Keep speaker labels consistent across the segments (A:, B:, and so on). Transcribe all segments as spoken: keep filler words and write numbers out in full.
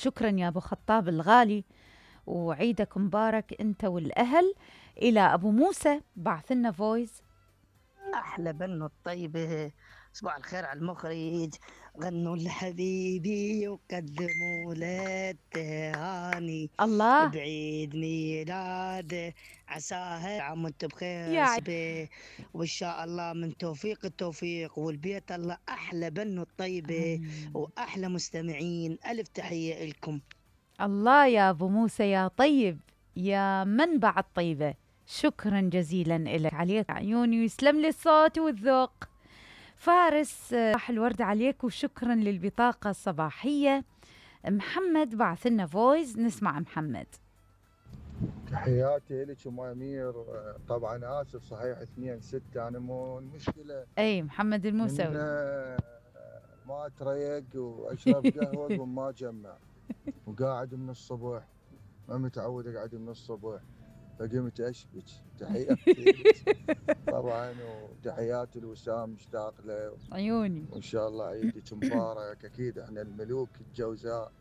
A: شكرا يا أبو خطاب الغالي، وعيدك مبارك أنت والأهل. إلى أبو موسى، بعث لنا فويس.
B: أحلى بنو الطيبة، صباح الخير على المخرج. غنوا لحبيبي وقدموا له التهاني
A: الله
B: بعيد ميلاده، عساها عام وانت بخير
A: يا
B: به، وإن شاء الله من توفيق التوفيق والبيت الله. أحلى بنو الطيبة
A: آمين.
B: وأحلى مستمعين، ألف تحية لكم.
A: الله يا أبو موسى يا طيب، يا منبع الطيبة، شكرا جزيلا لك، عليك عيوني ويسلم لي الصوت والذوق. فارس، صباح الورد عليك وشكرا للبطاقة الصباحية. محمد بعث لنا فويس، نسمع محمد.
C: تحياتي لك ام امير. طبعا اسف صحيح اثنين ستة، انا مو المشكلة
A: اي محمد الموسوي
C: ما اتريق واشرب قهوة وما اجمع، وقاعد من الصبح، ما متعود اقعد من الصبح، فقمت اشبك. تحياتي طبعا، وتحياتي لوسام، مشتاق له
A: عيوني،
C: وان شاء الله عيدك مبارك. اكيد احنا الملوك الجوزاء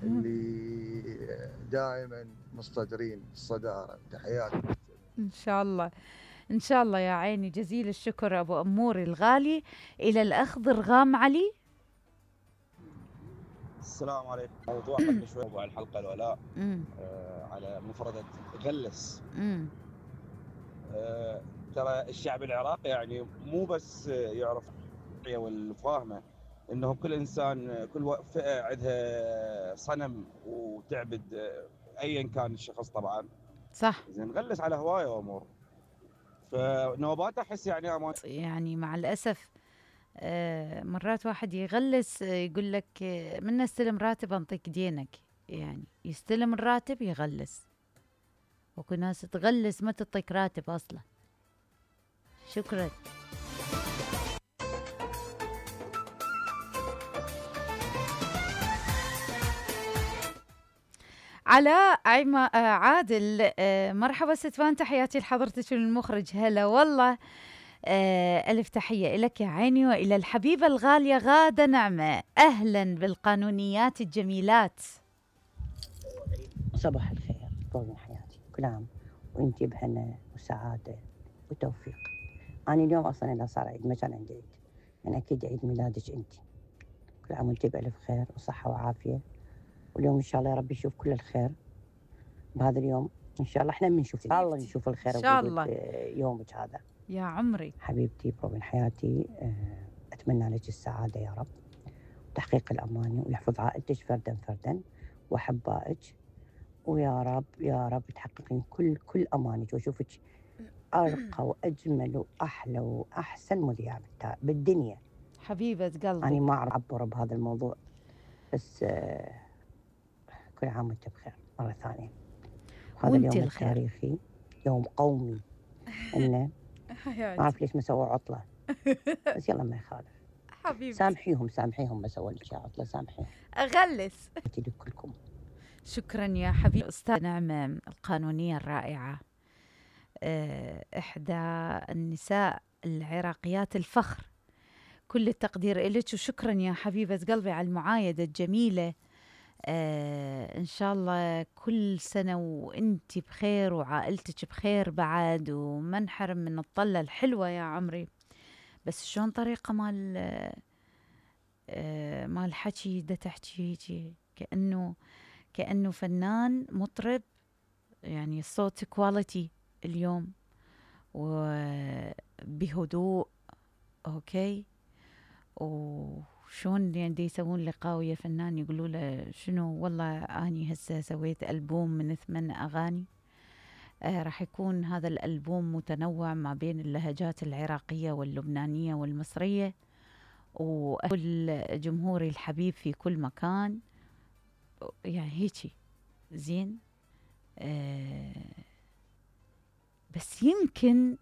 C: اللي دائما مصدرين الصدارة. تحياتي
A: ان شاء الله ان شاء الله يا عيني، جزيل الشكر ابو اموري الغالي. الى الاخ ضرغام علي.
D: السلام عليكم. توقفنا شوي موضوع الحلقه الولاء آه على مفردة غلس. آه ترى الشعب العراقي يعني مو بس يعرف والفاهمه انه كل انسان، كل فئه عندها صنم وتعبد ايا كان الشخص طبعا.
A: صح.
D: زين غلس على هوايه امور، فنوبات احس يعني أمان.
A: يعني مع الاسف آه مرات واحد يغلس، آه يقول لك آه من استلم راتب انطيك دينك، يعني يستلم الراتب يغلس، وكل ناس تغلس ما تعطيك راتب اصلا. شكرا. علاء عيما آه عادل، آه مرحبا ستفان، تحياتي لحضرتك المخرج. هلا والله، آه ألف تحية لك يا عيني، وإلى الحبيبة الغالية غادة نعمة. أهلا بالقانونيات الجميلات.
E: صباح الخير، طول من حياتي، كل عام وانتي بهنا وسعادة وتوفيق. أنا اليوم أصلا إذا صار عيد ما كان عندي عيد، يعني أكيد عيد ميلادك انتي. كل عام وانتي بألف خير وصحة وعافية، واليوم إن شاء الله يا رب يشوف كل الخير بهذا اليوم. إن شاء الله إحنا بنشوف، الله نشوف الخير
A: إن شاء الله
E: يومك هذا
A: يا عمري.
E: حبيبتي بروبن حياتي، أتمنى لك السعادة يا رب، وتحقيق الأماني، ويحفظ عائلتك فردا فردا وأحبائك، ويا رب يا رب تحققين كل كل أمانك، وأشوفك أرقى وأجمل وأحلى وأحسن مذيعة بالدنيا
A: حبيبة قلبي.
E: أنا ما أعرف أعبر بهذا الموضوع، بس كل عام وأنت بخير مرة ثانية. هذا اليوم الخير. التاريخي، يوم قومي، إنه ما أعرف ليش ما سووا عطلة، بس يلا ما يخالف.
A: حبيبتي
E: سامحيهم سامحيهم ما سووا لك عطلة، سامحيهم.
A: أغلس.
E: كلكم.
A: شكرا يا حبيبي أستاذ نعمة القانونية الرائعة، إحدى النساء العراقيات الفخر. كل التقدير إليك، وشكرا يا حبيبة قلبي على المعايدة الجميلة. آه إن شاء الله كل سنة وإنتي بخير وعائلتك بخير بعد، وما نحرم من الطلة الحلوة يا عمري. بس شلون طريقة مال آه مال حكي دا تحكي هيجي كأنه كأنه فنان مطرب، يعني الصوت كواليتي اليوم وبهدوء. أوكي، وشون يعني دي يسوون لقاء ويا فنان يقولوا له شنو، والله أني هسه سويت ألبوم من ثمان أغاني. آه راح يكون هذا الألبوم متنوع ما بين اللهجات العراقية واللبنانية والمصرية، وكل جمهوري الحبيب في كل مكان، يعني هيجي زين. آه بس يمكن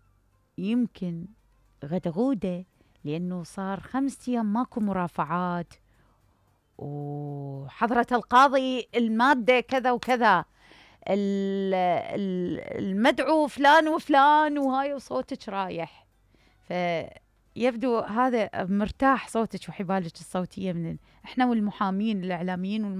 A: يمكن غدغودة، لأنه صار خمسة أيام ماكو مرافعات، وحضرة القاضي المادة كذا وكذا، المدعو فلان وفلان، وهاي وصوتك رايح، فيبدو هذا مرتاح صوتك وحبالك الصوتية من احنا والمحامين الإعلاميين